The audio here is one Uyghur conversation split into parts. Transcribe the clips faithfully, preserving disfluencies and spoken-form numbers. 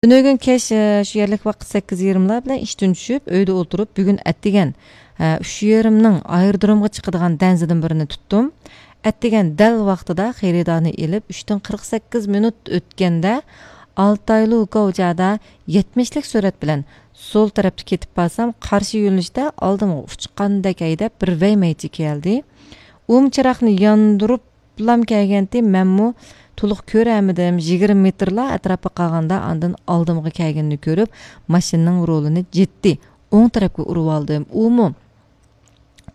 تۈنۈگۈن كەچ، ئە، شۇ يەرلىك ۋاقىت سەككىز يېرىملار بىلەن ئىشتىن چۈشۈپ، ئۆيدە ئولتۇرۇپ، بۈگۈن ئەتىگەن، ئە، ئۈچ يېرىمنىڭ ئايرودرومغا چىقىدىغان دەنزىدىن بىرىنى تۇتتۇم. ئەتىگەن دەل ۋاقتىدا خېرىدارنى ئېلىپ، ئۈچتىن قىرىق سەككىز مىنۇت ئۆتكەندە، ئالتاي لۇكاۋجادا يەتمىشلىك سۈرئەت بىلەن سول تەرەپتە كېتىپ بارسام، قارشى يۆنىلىشتە ئالدىمغا ئۇچقاندەك ھەيدەپ بىر ۋەيمەيچى كەلدى. ئۇمۇ چىراغنى ياندۇرۇپ، لام كەلگەنتى، مەنمۇ تولۇق كۆرەلمىدىم. يىگىرمە مېتىرلا ئەتراپقا قالغاندا، ئاندىن ئالدىمغا كەلگىنىنى كۆرۈپ، ماشىنىنىڭ رولىنى جىددىي ئوڭ تەرەپكە ئۇرۇۋالدىم. ئۇمۇ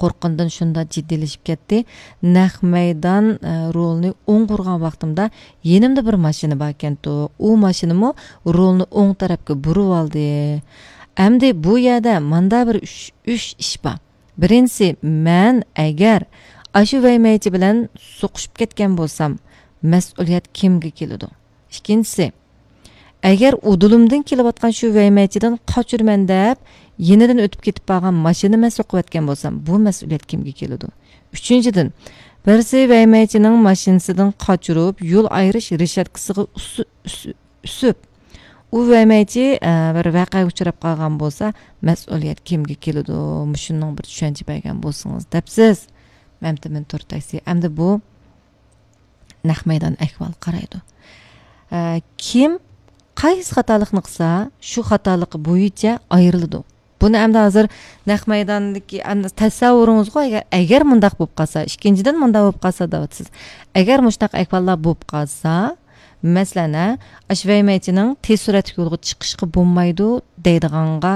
قورققىنىدىن شۇنداق جىددىيلىشىپ كەتتى. نەق مەيدان، ئە، رولىنى ئوڭغا ئۇرغان ۋاقتىمدا يېنىمدا بىر ماشىنا باركەنتۇ. ئۇ ماشىنىمۇ رولىنى ئوڭ تەرەپكە بۇرۇۋالدى. ئەمدى بۇ يەردە ماندا بىر ئۈچ، ئۈچ ئىش بار. بىرىنچىسى، مەن ئەگەر ئاشۇ ۋەيمەيچى بىلەن سوقۇشۇپ كەتكەن بولسام، مەسئۇلىيەت كىمگە كېلىدۇ؟ ئىككىنچىسى، ئەگەر ئۇدۇلۇمدىن كېلىۋاتقان شۇ ۋەيمەيچىدىن قاچۇرىمەن دەپ، يېنىدىن ئۆتۈپ كېتىپ بارغان ماشىنىنى مەن سوقۇۋەتكەن بولسام، بۇ مەسئۇلىيەت كىمگە كېلىدۇ؟ ئۈچىنچىدىن، بىرسى ۋەيمەيچىنىڭ ماشىنىسىدىن قاچۇرۇپ، يول ئايرىش رېشاتكىسىغا ئۇسۇ-، ئۈسۈ-، ئۈسۈپ، ئۇ ۋەيمەيچى، ئە، بىر ۋەقەگە ئۇچراپ قالغان بولسا، مەسئۇلىيەت كىمگە كېلىدۇ؟ مۇشۇنىڭ بىر چۈشەنچە بەرگەن بولسىڭىز دەپسىز. مەمتىمىن تۇرتايسى. ئەمدى بۇ نەق مەيدان ئەھۋال قارايدۇ. ئە، كىم قايسى خاتالىقنى قىلسا، شۇ خاتالىقى بويىچە ئايرىلىدۇ. بۇنى ئەمدى ھازىر نەق مەيداندىكى ئەمدى تەسەۋۋۇرىڭىزغۇ، ئەگەر، ئەگەر مۇنداق بولۇپ قالسا، ئىككىنچىدىن مۇنداق بولۇپ قالسا دەۋاتىسىز. ئەگەر مۇشۇنداق ئەھۋاللار بولۇپ قالسا، مەسىلەن، ھە، ئاشۇ ۋەيمەيچىنىڭ تېز سۈرئەتلىك يولغا چىقىشقا بولمايدۇ دەيدىغانغا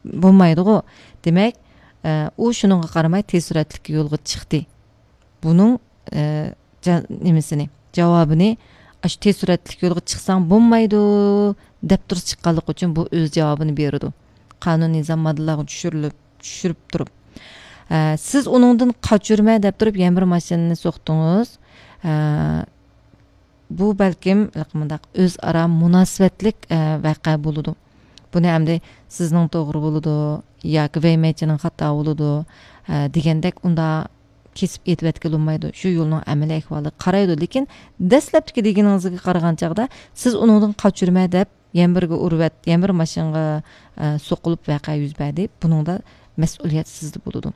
بولمايدىغۇ. دېمەك، ئە، ئۇ شۇنىڭغا قارىماي تېز سۈرئەتلىك يولغا چىقتى. بۇنىڭ، ئە، جا-، نېمىسىنى، جاۋابىنى، ئاشۇ تېز سۈرئەتلىك يولغا چىقساڭ بولمايدۇ دەپ تۇرۇپ چىققانلىقى ئۈچۈن بۇ ئۆز جاۋابىنى بېرىدۇ. قانۇن نىزام ماددىلارغا چۈشۈرۈلۈپ، چۈشۈرۈپ تۇرۇپ. ئە، سىز ئۇنىڭدىن قاچۇرمە دەپ تۇرۇپ يەنە بىر ماشىنىنى سوقتىڭىز. ئە، بۇ بەلكىم مۇنداق ئۆزئارا مۇناسىۋەتلىك، ئە، ۋەقە بولىدۇ. بۇنى ئەمدى سىزنىڭ توغرا بولىدۇ ياكى ۋەيمەيچىنىڭ خاتا بولىدۇ، ئە، دېگەندەك ئۇنداق كېسىپ ئېيتىۋەتكىلى بولمايدۇ. شۇ يولنىڭ ئەمەلىي ئەھۋالىغا قارايدۇ. لېكىن دەسلەپتىكى دېگىنىڭىزگە قارىغان چاغدا سىز ئۇنىڭدىن قاچۇرمە دەپ يەنە بىرگە ئۇرۇۋەت، يەنە بىر ماشىنىغا، ئە، سوقۇلۇپ ۋەقە يۈز بەردى. بۇنىڭدا مەسئۇلىيەت سىزدە بولىدۇ.